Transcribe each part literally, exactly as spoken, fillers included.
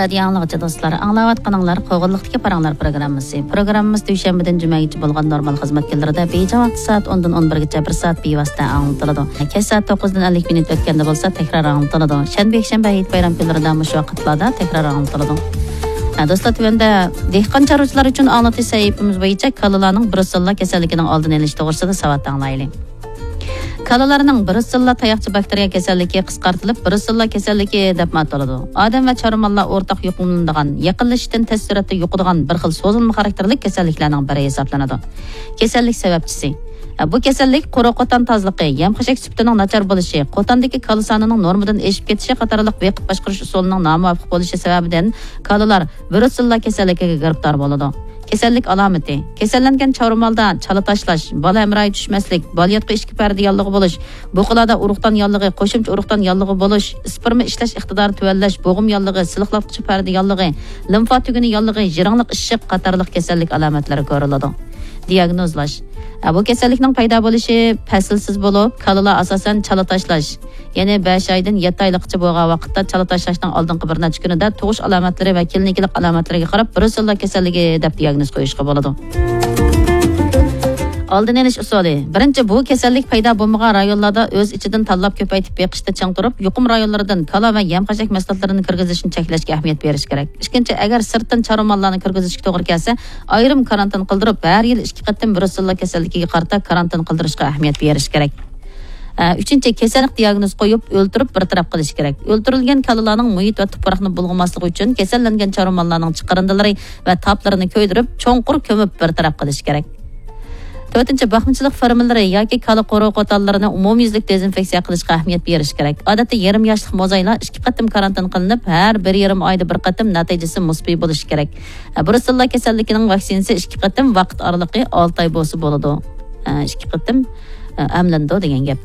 رادىيو ئاڭلىغۇچى دوستلار، ئاڭلاۋاتقىنىڭلار قوغۇنلۇقتىكى پاراڭلار پروگراممىسى. پروگراممىمىز دۈشەنبىدىن جۈمەگىچە بولغان نورمال خىزمەت كۈنلىرىدە بېيجىڭ ۋاقتى سائەت ئوندىن ئون بىرگىچە بىر سائەت بىۋاسىتە ئاڭلىتىلىدۇ. كەچ سائەت توققۇزدىن ئەللىك مىنۇت ئۆتكەندە بولسا تەكرار ئاڭلىتىلىدۇ. شەنبە، يەكشەنبە، ھېيت بايرام كۈنلىرىدە مۇشۇ ۋاقىتلاردا تەكرار ئاڭلىتىلىدۇ. ھە، دوستلار، تۆۋەندە دېھقان چارۋىچىلار ئۈچۈن ئاڭلىتىش سەھىپىمىز بويىچە كالىلارنىڭ بروسېللا كېسەللىكىنىڭ ئالدىنى ئېلىش توغرىسىدا ساۋات ئاڭلايلى. كالىلارنىڭ بروسېللا تاياقچە باكتېرىيە كېسەللىكى، قىسقارتىلىپ بروسېللا كېسەللىكى دەپمۇ ئاتىلىدۇ، ئادەم ۋە چارۋىماللار ئورتاق يۇقۇملىنىدىغان، يېقىنلىشىشتىن تېز سۈرئەتتە يۇقىدىغان بىر خىل سوزۇلما خاراكتېرلىك كېسەللىكلەرنىڭ بىرى ھېسابلىنىدۇ. كېسەللىك سەۋەبچىسى. بۇ كېسەللىك قورۇ قوتان تازىلىقى، يەم خەشەك سۈپىتىنىڭ ناچار بولۇشى، قوتاندىكى كالا سانىنىڭ نورمىدىن ئېشىپ كېتىشى قاتارلىق ۋېقىت باشقۇرۇش ئۇسۇلىنىڭ نامۇۋاپىق بولۇشى سەۋەبىدىن كالىلار بروسېللا كېسەللىكىگە گىرىپتار بولىدۇ. كېسەللىك ئالامىتى. كېسەللەنگەن چارۋىمالدا چالا تاشلاش، بالا ھەمراھى چۈشمەسلىك، بالىياتقۇ ئىچكى پەردە ياللۇغى بولۇش، بۇقىلاردا ئۇرۇقدان ياللۇغى، قوشۇمچە ئۇرۇقدان ياللۇغى بولۇش، ئىسپېرما ئىشلەش ئىقتىدارى تۆۋەنلەش، بوغۇم ياللۇغى، سىلىقلاتقۇچى پەردە ياللۇغى، لىمفا تۈگۈنى ياللۇغى، يىرىڭلىق ئىششىق قاتارلىق كېسەللىك ئالامەتلىرى كۆرۈلىدۇ. دىياگنوزلاش. ئە، بۇ كېسەللىكنىڭ پەيدا بولۇشى پەسىلسىز بولۇپ، كالىلار ئاساسەن چالا تاشلاش، يەنى بەش ئايدىن يەتتە ئايلىققىچە بولغان ۋاقىتتا چالا تاشلاشنىڭ ئالدىنقى بىر نەچچە كۈنىدە تۇغۇش ئالامەتلىرى ۋە كلىنىكىلىق ئالامەتلىرىگە قاراپ بروسېللا كېسەللىكى دەپ دىياگنوز قويۇشقا بولىدۇ. ئالدىنى ئېلىش ئۇسۇلى. بىرىنچى، بۇ كېسەللىك پەيدا بولمىغان رايونلاردا ئۆز ئىچىدىن تاللاپ كۆپەيتىپ بېقىشتا چىڭ تۇرۇپ، يۇقۇم رايونلىرىدىن كالا ۋە يەم خەشەك مەھسۇلاتلىرىنى كىرگۈزۈشنى چەكلەشكە ئەھمىيەت بېرىش كېرەك. ئىككىنچى، ئەگەر سىرتتىن چارۋىماللارنى كىرگۈزۈشكە توغرا كەلسە، ئايرىم كارانتىن قىلدۇرۇپ، ھەر يىلى ئىككى قېتىم بروسېللا كېسەللىكىگە قارىتا كارانتىن قىلدۇرۇشقا ئەھمىيەت بېرىش كېرەك. ئە، ئۈچىنچى، كېسەللىك دىياگنوز قويۇپ، ئۆلتۈرۈپ بىر تەرەپ قىلىش كېرەك. ئۆلتۈرۈلگەن كالىلارنىڭ مۇھىت ۋە تۇپراقنى بۇلغىماسلىقى ئۈچۈن كېسەللەنگەن چارۋىماللارنىڭ چىقىرىندىلىرى ۋە تاپلىرىنى كۆيدۈرۈپ، چوڭقۇر كۆمۈپ بىر تەرەپ قىلىش كېرەك. تۆتىنچى، باقمىچىلىق فېرمىلىرى ياكى كالا قورۇ قوتانلىرىنى ئومۇميۈزلۈك دېزىنفېكسىيە قىلىشقا ئەھمىيەت بېرىش كېرەك. ئادەتتە يېرىم ياشلىق موزايلار ئىككى قېتىم كارانتىن قىلىنىپ، ھەر بىر يېرىم ئايدا بىر قېتىم، نەتىجىسى مۇسبىي بولۇشى كېرەك. بروسېللا كېسەللىكىنىڭ ۋاكسىنىسى ئىككى قېتىم، ۋاقىت ئارىلىقى ئالتە ئاي بولسا بولىدۇ. ئىككى قېتىم ئەملىنىدۇ دېگەن گەپ.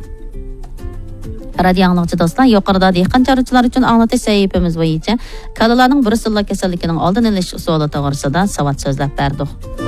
رادىيو ئاڭلىغۇچى دوستلار، يۇقىرىدا دېھقان چارۋىچىلار ئۈچۈن ئاڭلىتىش سەھىپىمىز بويىچە كالىلارنىڭ بروسېللا كېسەللىكىنىڭ ئالدىنى ئېلىش ئۇسۇلى توغرىسىدا ساۋات سۆزلەپ بەردۇق.